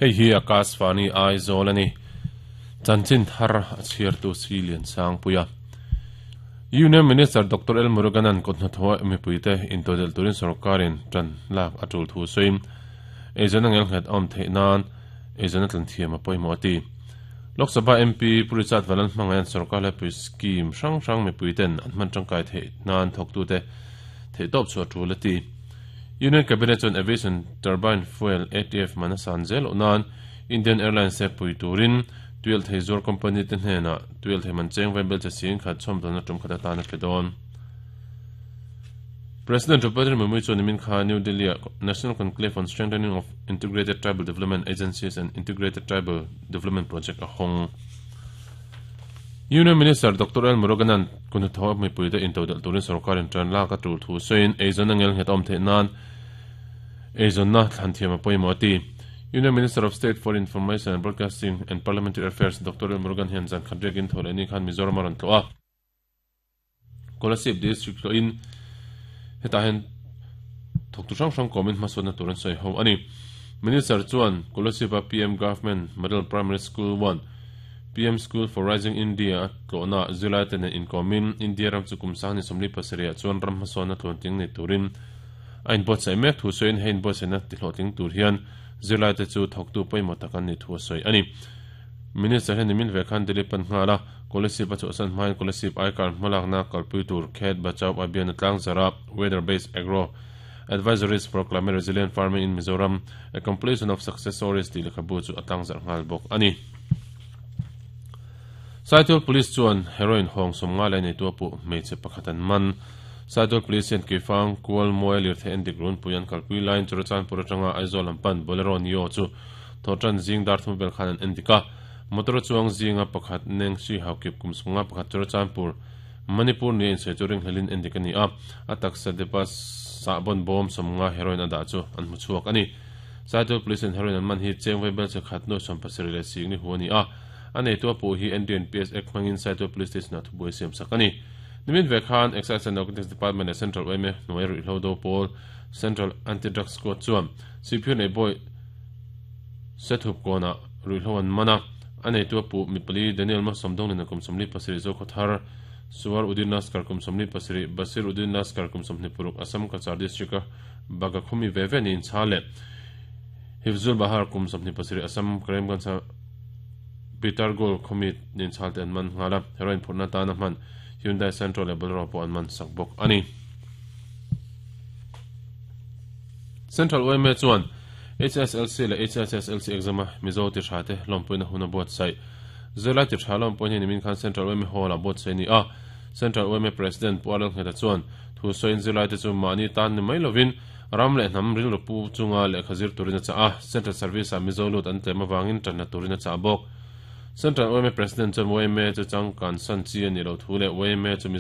Hei hi Akashvani Aizawl a ni. Chanchin thar a chhiartu Si Liansangpuia. Union Minister Doctor L Muruganan kut hnathawha mipuite intodelh turin sorkarin tan lak a tul thu sawiin eizawn a ngelnghet a awm theih nan eizawn a tlan thiam a pawimawh a ti. Lok Sabha MP Pu Richard Valan hmangaihan sorkar hlaipui scheme hrang hrang mipuiten an hman tangkai theih nan thawktute theihtawp chhuah tul a ti. Union Cabinet chuan Aviation Turbine Fuel, ATF, man a san zel loh nan Indian Airlines te pui turin tuialhthei zuar company te hnenah tuialhthei man cheng vai belche sing khat chhawmdawnna tum khat atan a pe dawn. President Draupadi Murmu chuan nimin kha New Delhi-ah National Conclave on Strengthening of Integrated Tribal Development Agencies and Integrated Tribal Development Project a hawng. Union Minister Doctor L Muruganan kun hnathawh mipuite intodelh turin sorkarin tan lak a tul thu sawiin eizawnna ngelnghet a awm theih nan eizawnna thlan thiam a pawimawh a ti. Union Minister of State for Information and Broadcasting and Parliamentary Affairs Doctor L Murugan hian zan khat riakin thaw leh ni khan Mizoram a rawn tlawh a. Kolasib District tlawhin hetah hian thawktu hrang hrang kawmin hmasawnna tur an sawi ho a ni. Minister chuan Kolasib-a PM Government Model Primary School 1, PM School for Rising India a tlawhna zirlai te nen inkawmin India ram chu kum sang ni 47 ah chuan ram hmasawnna tluantling nei turin a inbuatsaih mek thu sawiin hei inbuatsaihna tihlawhtling tur hian zirlai te chu thawktu pawimawh tak an nih thu a sawi a ni. Minister hian nimin ve khan Delhi pan nghal a, Kolasib a chhuahsan hmain Kolasib aikar hmalakna kalpui tur Khet Bachao Abhiyan a tlangzar a, Weather Based Agro Advisories for Climate Resilient Farming in Mizoram, A Compilation of Success Stories tih lehkhabu chu a tlangzarh nghal bawk a ni. Saitual Police chuan heroin hawng 50 leh neitu a puh hmeichhe pakhat an man. Saitual Police hian Keifang, Kual, Muai lirthei endik runpui an kalpui laiin Churachandpur atanga Aizawl lam pan Bolero Neo chu Thawhtan zing dar thum vel khan an en dik a, motor chuang zinga pakhat Neng Sri Haokip kum 51 Churachandpur, Manipur nia insawi chu ringhlelin en dik a ni a, a taksa depa sahbawn bawm 50 heroin a dah chu an hmu chhuak a ni. Saitual Police in heroin an man hi cheng vai belche khat nuai 70 leh sing ni hu a ni a, a neitu a puh hi NDNPS Act hmangin Saitual Police Station ah thubuai siam sak a ni. Nimin ve khan Excise and Narcotics Department leh Central yma hnuai ruihhlo do pawl Central Anti-Drug Squad chuan Sihphir nei bawi Sethup kawnah ruihhlo an man a, a neitu a puh mipali Daniel Malsawmdawnglina kum 47 Zokhawthar, Suar Udin Laskar kum 47, Basir Udin Laskar kum 26 Assam Cachar District-a Bagakhumi ve ve niin chha leh Hifzul Bahar kum 27 Assam Karimganj-a Pitargul khawmi nen chhal te an man nghal a, heroin phurhna atana hman Hyundai Santro leh Bolero pawh an man sak bawk a ni. Central yma chuan HSLC leh HSSLC exam-a Mizo ti tha te lawmpuina hun a buatsaih. Zirlai ti tha lawmpui hi nimin khan Central yma Hall-ah buatsaih a ni a. Central yma President Pu Arnold Ngheta chuan thu sawiin zirlai te chu mahni tan ni mai lovin ram leh hnam rilru pu chunga lehkha zir turin a chah a, Central Service-ah Mizo lut an tlem avangin tanna turin a chah bawk. Central yma President chuan yma chu changkan san chi a nih loh thu leh yma chu Mizo.